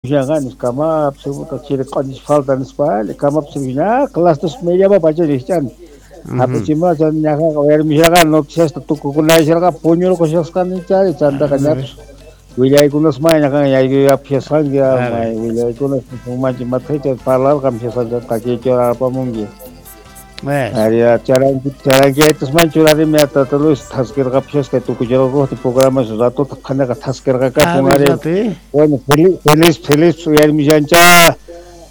Kamapas chiri q'oñis falta nispa kamapas ña clastas me llama pacha rijchani hapichimashan ñaqaqa uyarimusharqa noticiasta tukukunayasharqa puñurqushasqani chari chantaqa ñapis willaykunasmay ñaqaqa yaykuyapishasqanki may willaykunas manchi mathicha parlarqamishasqancha takiychura apamunki. Ari charanki charankiyaytasman churarimi tata Luis thaskirqapishasqa tukuchirqakuqti programas ratota qhanaqa thaskirqakapun ari. Bueno, feliz feliz uyarimushancha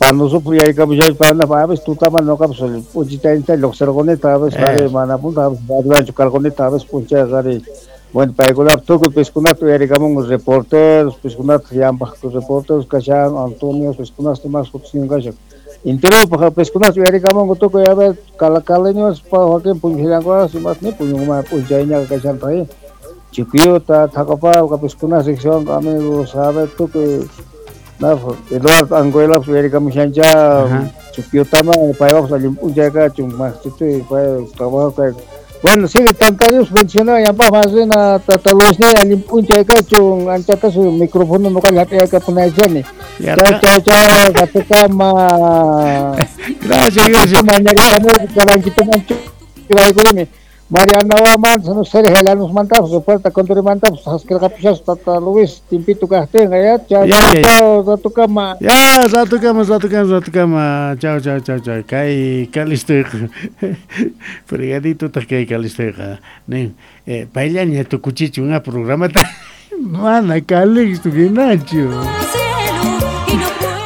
panusup uyarikamushan pana a veces tutaman noqapas p'unchayta lluqsirqunita a veces ari mana punta a veces radiowanchu karqunita a veces p'unchayqa ari. Bueno, paykunap tukuy piskunata uyarikamunku reporteros piskunata llampaq reporteros kashan Antonio piskunasta mas sutisnin kashan. Enteropaq piskunata uyarikamunku tukuy a ver calacaleños wakin puñushallankunas imas ni puñunman p'unchayñaqa kashantaq Chiquiyuta Thaqapawqa piskunas riqsiwanku amigos a ver tukuy Eduardo Anguelapas uyarikamushancha Chiquiyutaman paywapas allin p'unchay kachun maqchituy pay trabajo kay. Bueno, sigue tantarios mencionaba llampaq más rina tata Luisni allin p'unchay kachun anchatas micrófono noqalla hap'iyakapunaychani. Chao, chao, chao, ratukama. Gracias, gracias. Mariana Waman, no sé, nos mandamos, puerta contra mandamos, haskirqapishas tata Luis, timpito kaqtinqa, ya, chao, chao, ratukama. Ya, ratukama, ratukama, ratukama. Chao, chao, chao, chao. Kay kalistoyqa. Fregaditotaq kay kalistoyqa. Nin, payllaña tukuchichun a programata. Mana Calixto hinachu.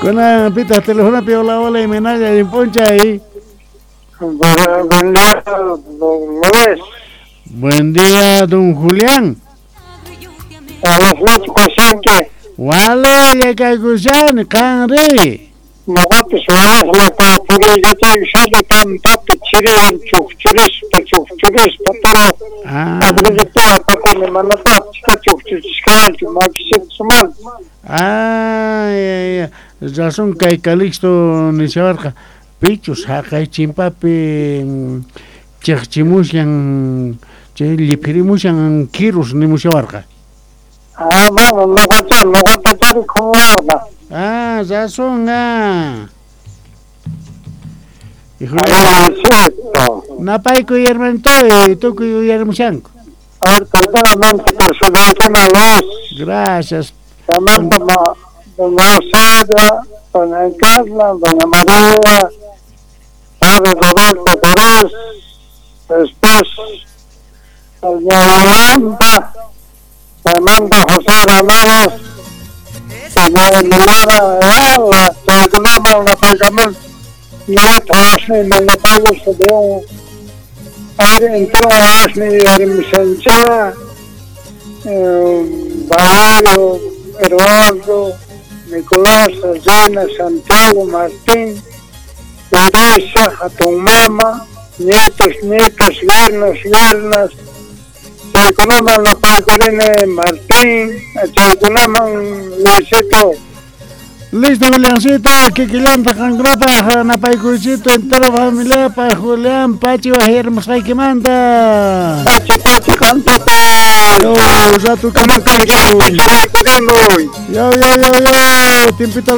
Kunan pitaq telefonopi hola, hola, imaynalla allin p'unchay. Buen día, don Luis. Buen día, don Julián. Wale, yakaykushani, qanri. Noqapis wawasllata puriykachaykushani pampapi chiriwan chukchurispa chukchurispa, pero agricultura apakuni manataqpis chukchuchishkanichu makishitusmanta. Ay, ay, razón kay Calixto nishawarqa. Pichus haqay chimpapi chiqchimushan chay lliphirimushan kirus nimushawarqa. Ah, bueno, noqacha noqatachari khumuwarqa. Ah, razón ah. Napaykuy hermanitoy, tukuy uyarimushanku. A ver, perdóname por su luz. Gracias. Doña Sara, doña Carla, doña María, padre Roberto Pérez, después doña Yolanda, Fernando José Ramírez, doña Milena Ayala, chaykunama napaykamun, ñata asni manapayus de ari entero asni yarimushancha, Valerio, Eduardo, Nicolás, Regina, Santiago, Martín, Teresa, hatun mama, nietos, nietas, yernos, yernas, chaykunaman napaykurini Martín, chaykunaman Luisito. Listo, Juliancito, kikillanta qankunapaq napaykuychito entero familiapaq Julián Pachi wajyarmusqaykimanta. Pachi, pachi qantapaq. Yo, ratukama kachun. Yo, yo, yo, yo, timpito.